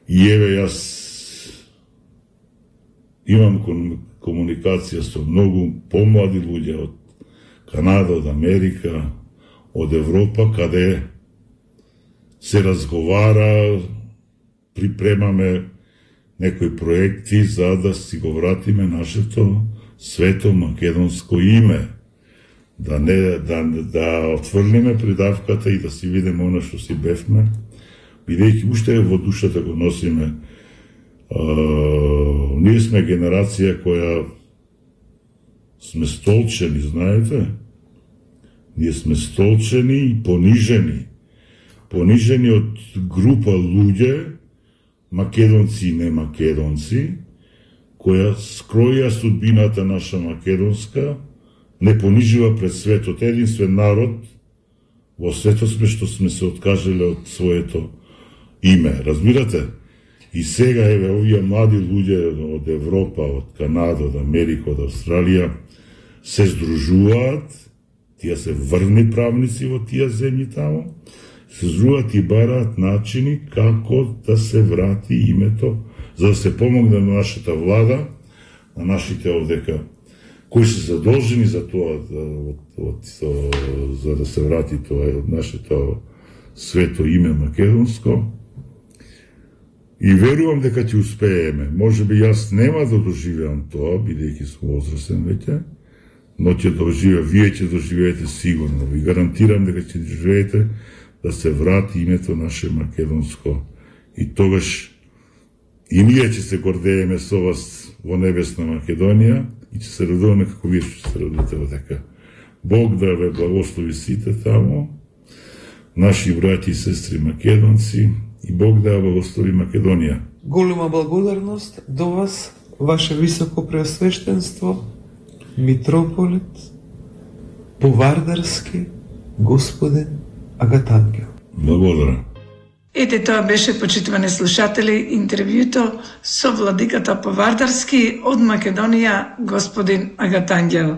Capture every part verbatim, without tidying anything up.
И еве јас имам комуникација со многу помлади луѓе од Канада, од Америка, од Европа, каде се разговара, припремаме некои проекти за да си го вратиме нашето свето македонско име. Да не да, да отврлиме придавката и да си видиме оно што си бевме, бидејќи уште во душата го носиме. А, ние сме генерација која сме столчени, знаете? Ние сме столчени и понижени. Понижени од група луѓе, македонци и не македонци, која скроја судбината наша македонска, не понижива пред светот. Единствен народ во светот сме што сме се откажале од своето име. Разбирате? И сега, еве, овие млади луѓе од Европа, од Канада, од Америка, од Австралија, се здружуваат, тие се врвни правници во тие земји тамо, се здружуваат и бараат начини како да се врати името, за да се помогне на нашата влада, на нашите овдека, кои се задолжени за тоа, од, од, за да се врати тоа нашето свето име македонско. И верувам дека ќе успееме. Може би јас нема да доживеам тоа, бидејќи сум возрастен веќе, но ќе доживеа, вие ќе доживеете сигурно. Ви гарантирам дека ќе доживеете да се врати името наше македонско. И тогаш и ние ќе се гордееме со вас во небесна Македонија и ќе се радуваме како вие што се радувате во дека. Бог да ве благослови сите тамо, наши браќи и сестри македонци, и Бог да благослови Македонија. Голема благодарност до вас, ваше високо преосвештенство, митрополит, Повардарски, господин Агатангел. Благодарам. Ете, тоа беше, почитувани слушатели, интервјуто со владиката Повардарски од Македонија, господин Агатангел.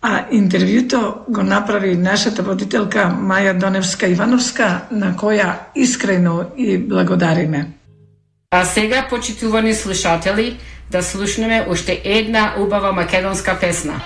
А интервјуто го направи нашата водителка Маја Доневска-Ивановска, на која искрено и благодариме. А сега, почитувани слушатели, да слушнеме уште една убава македонска песна.